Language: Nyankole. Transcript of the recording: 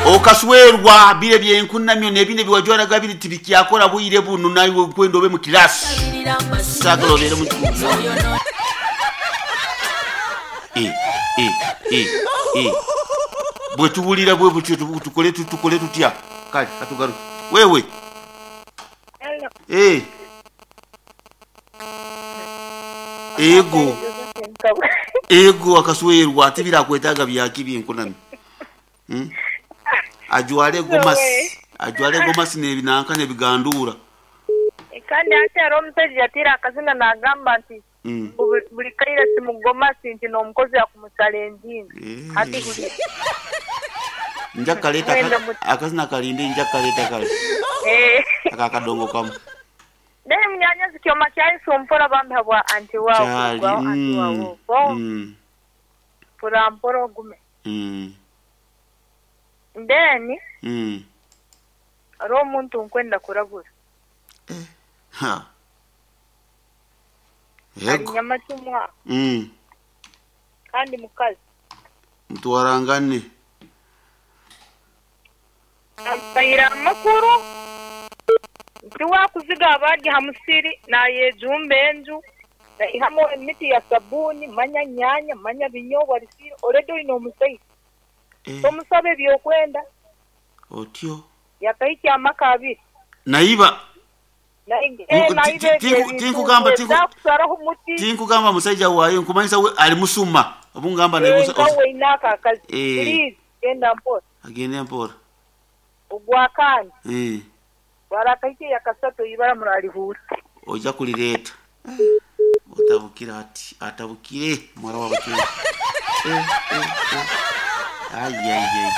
Okaswerwa bire ebyenkunamyo n'ebindi ebi wajwaraga biri tibikyakora bwire bunu naiwe okwenda obe mu kirasi. Saagala obeere mu E, e, e, e. Bwe tuwulira bwe butyo tukole tukole tutya? Kale katugaruke. Wewe. Hello. Eh. Ego. Ego akaswerwa tibirakwetaaga byaki byenkunamyo. Hmm? Ajwale gomasi, ajwale gomasi n'ebinanka n'ebiganduura. Kandi hati hariho omushaija yataire akazina nagamba nti Mm. mbu buri kaire ti mugomasi nti n'omukozi akumucalenjinze. Hati hurira. Nja kukaleeta Mwenda aka- muti. akazina kalinde nja kukaleeta kale Eh. aka akadongo kamu. Then munyanyazi kyoma kyayisa mpora bambi habwa anti waawe Kyali. kurugwaho anti waawe Mm. okwo Mm. mpora mpora ogume. Mm. Then Mm. hariho omuntu nkwenda kurabura. Ha. Ari Yego. nyamacumu aha Mm. kandi mukazi. Mutwarangane. Ampaire amakuru nti waakuziga abarya aha musiri naayejumba enju naihamu emiti ya sabuuni manya nyaanya manya binyobwa risiire already oine omusaija Eh, tomusaba ebyokwenda otyo. yakahikya amaka abiri Naiba naiba ebyo ebintu ezakusaraho omuti tinkugamba musaija waayo nkumanyisa we ali musuma obungamba naye nka weine ako akazi Eh. please genda mpora agende mpora. ogwakandi Eh. warakahikya yakasatu ibara murarihuura Oja kulireeta. Otabukire ati atabukire muwala wa Bachwezi. Eh, eh, eh. Ai ai ai.